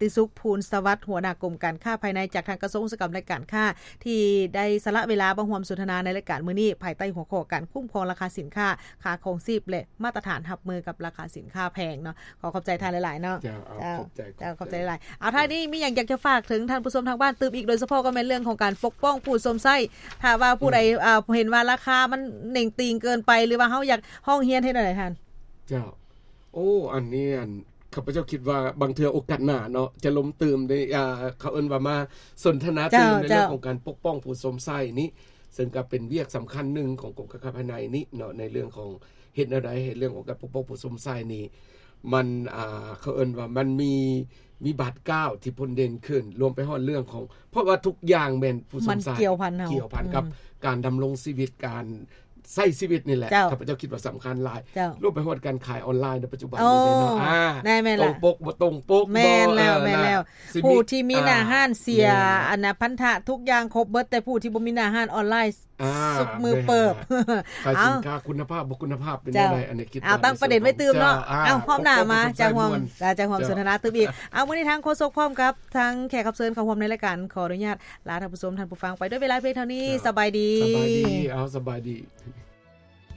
ຕິສຸກ ພູນສະຫວັດ ຫົວໜ້າກົມການຄ້າພາຍໃນຈາກທາງກະຊວງອຸດສາຫະກຳ ແລະ ການຄ້າ ທີ່ໄດ້ສະຫຼະເວລາມາຮ່ວມສົນທະນາໃນລາຍການມື້ນີ້ ພາຍໃຕ້ຫົວຂໍ້ການຄຸ້ມຄອງລາຄາສິນຄ້າ, ຄ່າຄອງຊີບ ແລະ ມາດຕະຖານຮັບມືກັບລາຄາສິນຄ້າແພງເນາະ. ຂໍຂອບໃຈທ່ານຫຼາຍໆເນາະ. ເຈົ້າ ເຈົ້າ ຂອບໃຈ ເຈົ້າ ຂອບໃຈ ຂອບໃຈຫຼາຍ. ເອົາ ທ້າຍນີ້ມີຫຍັງຢາກຈະຝາກເຖິງທ່ານຜູ້ຊົມທາງບ້ານຕື່ມອີກ ໂດຍສະເພາະກໍແມ່ນເລື່ອງຂອງການປົກປ້ອງຜູ້ຊົມໃຊ້ ຖ້າວ່າຜູ້ໃດ ອືມ ເອີ ເຫັນວ່າລາຄາມັນເໜັງຕີງເກີນໄປ ຫຼືວ່າເຮົາຢາກຮ້ອງຮຽນເຮັດແນວໃດທ່ານ? ເຈົ້າ ໂອ້ ອັນນີ້ ອັນ ຂ້າພະເຈົ້າຄິດວ່າບາງເທື່ອໂອກາດໜ້າເນາະ ຈະລົມຕື່ມໃນ ອ່າ ເຂົາເອີ້ນວ່າມາສົນທະນາຕື່ມ ເຈົ້າ ໃນເລື່ອງ ເຈົ້າ ຂອງການປົກປ້ອງຜູ້ຊົມໃຊ້ນີ້ ເຊິ່ງກໍເປັນວຽກສຳຄັນໜຶ່ງຂອງກົມການຄ້າພາຍໃນນີ້ເນາະ ໃນເລື່ອງຂອງເຮັດແນວໃດໃຫ້ເລື່ອງຂອງການປົກປ້ອງຜູ້ຊົມໃຊ້ນີ້ ມັນ ອ່າ ເຂົາເອີ້ນວ່າມັນມີ ມີບາດກ້າວທີ່ພົ້ນເດັ່ນຂຶ້ນ ລວມໄປຮອດເລື່ອງຂອງ ເພາະວ່າທຸກຢ່າງແມ່ນຜູ້ຊົມໃຊ້ ມັນກ່ຽວພັນເຮົາ ກ່ຽວພັນກັບ ອືມ ການດຳລົງຊີວິດ ການ ໃຊ້ຊີວິດນີ້ແຫຼະ ເຈົ້າ ຂ້າພະເຈົ້າຄິດວ່າສຳຄັນຫຼາຍ ເຈົ້າ ລວມໄປຮອດການຂາຍອອນລາຍໃນປັດຈຸບັນ ໂອ້ ນີ້ເນາະ ອ່າ ແມ່ນໆ ຕົງປົກບໍ່ຕົງປົກ ແມ່ນແລ້ວ ເອີ ແມ່ນແລ້ວ ຊິມີ ຜູ້ທີ່ມີໜ້າຮ້ານເສຍ ອ່າ ແມ່ນແລ້ວ ອັນນະ ພັນທະທຸກຢ່າງຄົບເບິດ ແຕ່ຜູ້ທີ່ບໍ່ມີໜ້າຮ້ານອອນລາຍ ອ່າ ຊຸກມືເປີບ ແມ່ນແລ້ວ ຂາຍສິນຄ້າ ເອົາ ຄຸນນະພາບບໍ່ຄຸນນະພາບເປັນແນວໃດ ເຈົ້າ ອັນນີ້ຄິດ ເອົາ ວ່າ ຕັ້ງປະເດັນໄວ້ຕື່ມເນາະ ເຈົ້າ ເອົາ ຮອບໜ້າມາຈະຮ່ວມ ເຈົ້າ ຈະຮ່ວມ ເຈົ້າ ສົນທະນາຕື່ມອີກ ເອົາ ມື້ນີ້ທາງໂຄສົກພ້ອມກັບທາງແຂກຮັບເຊີນເຂົ້າຮ່ວມໃນລາຍການ ຂໍອະນຸຍາດລາທ່ານຜູ້ຊົມ ທ່ານຜູ້ຟັງໄປດ້ວຍເວລາພຽງເທົ່ານີ້ ເຈົ້າ ສະບາຍດີ ສະບາຍດີ ເອົາ ສະບາຍດີ.